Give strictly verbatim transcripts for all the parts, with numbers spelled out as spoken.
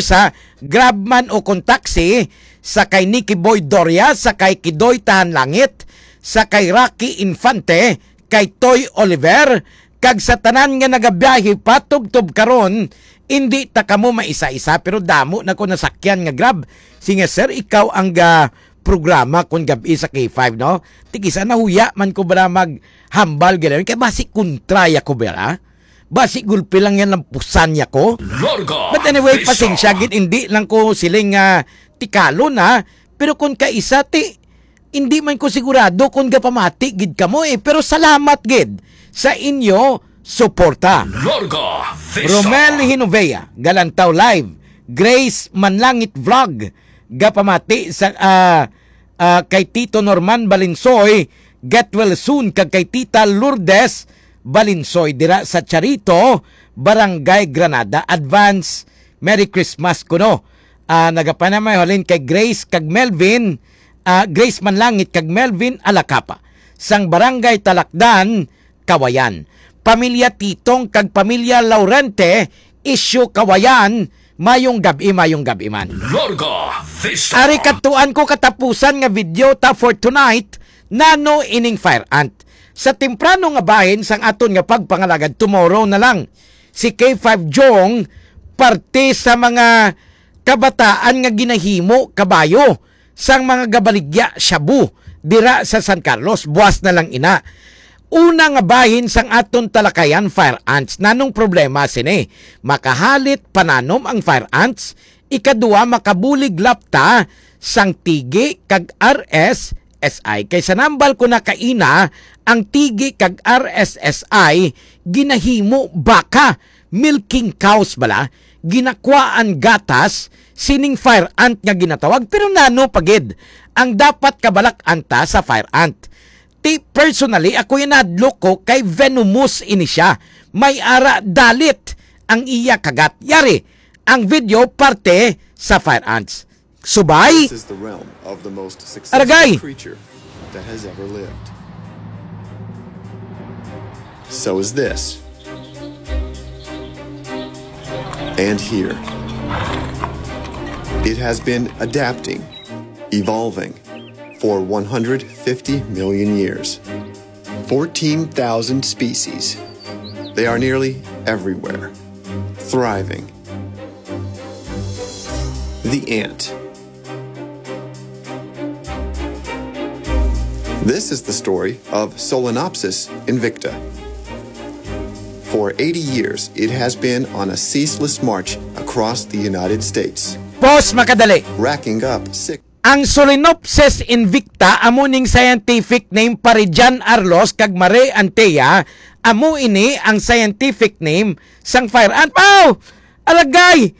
sa Grab man o kon taxi, sa kay Nicky Boy Doria, sa kay Kidoy Tahan Langit, sa kay Rocky Infante, kay Toy Oliver, kag sa tanan nga nagabiyahe patubtob karon, indi ta kamo maisa-isa, pero damo na ko nasakyan nga Grab. Sige, sir, ikaw ang ga programa kon gab-i sa K five, no? Tig-isa, nahuya man ko bala maghambal gid kay basi kontra ya ko bala. Basi gulpi lang yan, lampusan ya ko. Larga But anyway, Vista. Pasensya gid, hindi lang ko siling nga tikalon, ha. Pero kung kaisa, ti, hindi man ko sigurado kung gapamati gid kamo, eh. Pero salamat gid sa inyo suporta. Larga Vista. Romel Hinovea, Galantaw Live, Grace Manlangit Vlog, gapamati sa, ah, ah, kay Tito Norman Balinsoy, get well soon, kag kay Tita Lourdes Balinsoy dira sa Charito, Barangay Granada. Advance Merry Christmas kuno. Ah, nagapanamay halin kay Grace kag Melvin, ah, Grace Manlangit kag Melvin Alacapa, sang Barangay Talakdan, Kawayan. Pamilya Titong kag pamilya Laurente, Isyu Kawayan, mayong gab-i, mayong gab-i man. Larga Vista. Ari, katuan ko katapusan nga video ta for tonight, nano ining fire ant. Sa temprano nga bahin sang aton nga pagpangalagad, tomorrow na lang. Si K five Jong, parte sa mga kabataan nga ginahimo kabayo sang mga gabaligya shabu dira sa San Carlos, buas na lang ina. Una nga bahin sang aton talakayan, fire ants. Nanong problema sini? Makahalit pananom ang fire ants. Ikaduha, makabulig lapta sang tigi kag R S S I. Kay sa nambal ko na kaina, ang tigi kag R S S I ginahimo baka, milking cows bala, ginakwaan gatas sining fire ant nga ginatawag. Pero nano pa gid ang dapat kabalak-an ta sa fire ant? Ti, personally, ako, inadlok ko kay venomous ini siya. May ara dalit ang iya kagat. Yari, ang video parte sa fire ants. Subay. This is the realm of the most successful Aragay. Creature that has ever lived. So is this. And here. It has been adapting, evolving for one hundred fifty million years. Fourteen thousand species. They are nearly everywhere, thriving. The ant. This is the story of Solenopsis invicta. For eighty years, it has been on a ceaseless march across the United States, Pause, makadali. Racking up six Ang Solenopsis invicta amo ning scientific name pa Rijan Arlos kag Mare Antea, amo ini ang scientific name sang fire ant. Aw! Aragay!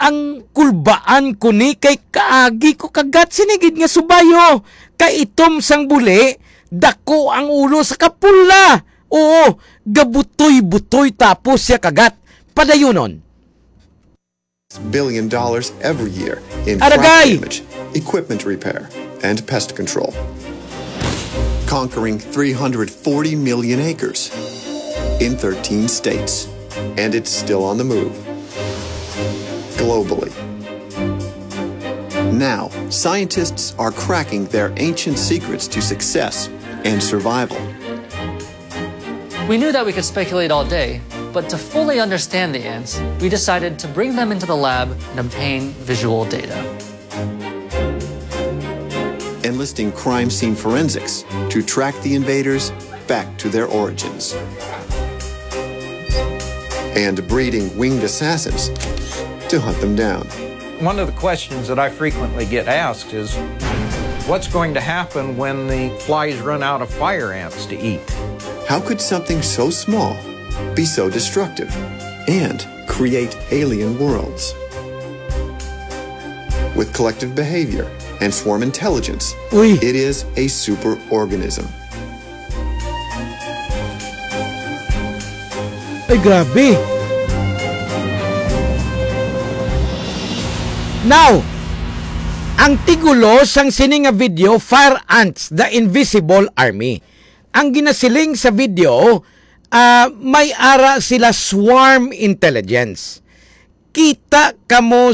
Ang kulbaan ko ni kay kaagi ko kagat sini gid nga subayo. Kay itom sang buli, dako ang ulo sa kapula. Oo, gabutoy-butoy tapos siya kagat. Padayunon. Billion dollars every year in crop Aragay! Damage, equipment repair, and pest control. Conquering three hundred forty million acres in thirteen states. And it's still on the move globally. Now, scientists are cracking their ancient secrets to success and survival. We knew that we could speculate all day, but to fully understand the ants, we decided to bring them into the lab and obtain visual data. Enlisting crime scene forensics to track the invaders back to their origins. And breeding winged assassins to hunt them down. One of the questions that I frequently get asked is, what's going to happen when the flies run out of fire ants to eat? How could something so small be so destructive and create alien worlds? With collective behavior and swarm intelligence, Uy. It is a superorganism. Ay, grabe. Now, ang tigulo sang sini nga video, Fire Ants, The Invisible Army. Ang ginasiling sa video, ah, may ara sila swarm intelligence. Kita kamo